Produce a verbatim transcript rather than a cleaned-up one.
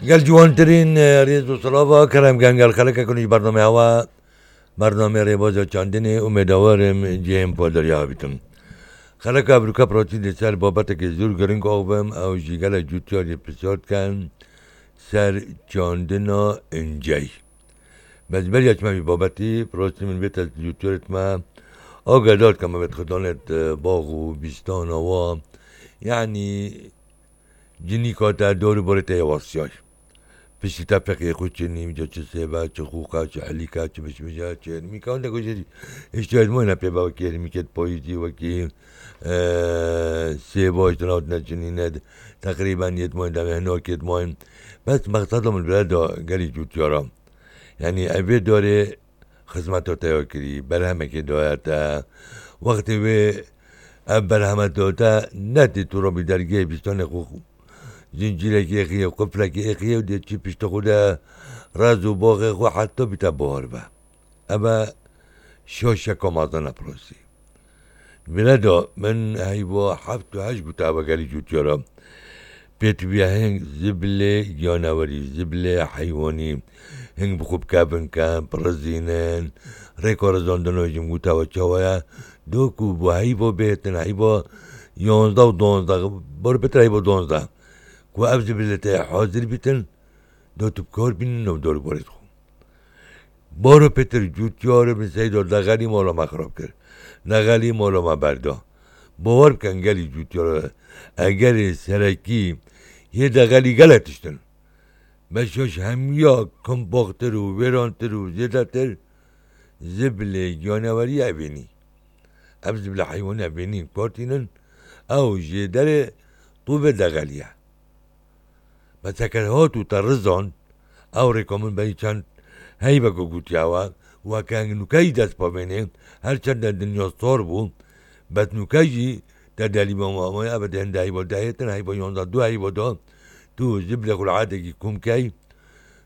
Gel ciwantirîn, e, rêz û silava kerem gen gel xeleke kun ji bername hewa, bername rêbaza çandinê û mêdawarim cihên poderiya bitim. Xeleka evroka protî li ser babetekê zûr giring axivim, ew jî gelek cûtiyar jê pisyar dikin ser çandina incey. Bes beriya çima vî babetî, prostî min vê test cûtiyarê me agedar ke me vê xidanê, e, bax û bîstana wa, yanî cinîka te, dor û borê te yê wasiyay. Piştî te feqê xwe çênî, ca çi sêve, çi xûqa, çi elîka, çi mişmija, çi hermîka, hindek jî îştiyayê me ne pê be, wekî hermîkê payîzî, wekî, e, sêva, îşte navt ne çinî ne, teqrîben yê dmayîn, demê hinakê dmayîn. Bes mexseda min bile da gelî cûtiyara. Yanî ev vê darê xizmeta te ya kirî, berhemekê daye te. Wextê wê ev berheme da te, ne tê tu rabî dergehê bîstanê xwe zincîrekî êxiye, quflekî êxiye û dê çi piştê xwe de rez û baxê xwe heta bîte bahar be. Ev e şaşeka mezin e prosî. Vêre de min heyva heft û heşt guta vegerî cûtiyara. Pêtiviya hing zibilê giyanewerî, zibilê heywanî, hing bi xwe bikevin ke, birizînin, rêka rizandina jî min guta we çawa ye. Do ku bo heyva bêtin, heyva yanzdeh û donzdeh, bar bêtir heyva donzdeh. Ku ev zibilê te hazir bîtin, do tu bi kar bînin nav dor û borê xwe. Baro pêtir cûtiyarê min seyda dexelî mala me xirab kir. Dexelî mala me berda. Bawer bikin gelî cûtiyara egerê serekî yê dexelî gelek tiştin. Beşa ji hemiya kombaxtir û wêrantir û zêdetir zibilê giyanewerî evênî. Ev zibilê heywanî evênî kar tînin, ew jê derê tûvê dexelî ye. Bes heke hat û te rizand, ew rêka min berî çend heyveke gotiya we, weke hing nûke jî dest pavênê, her çend de dinya sar bû, bes nûke jî te delî mama, ama eve de hinde heyva dehêtin, heyva yanzdeh du heyva da, tu zibilê xwe li erdekî kom key,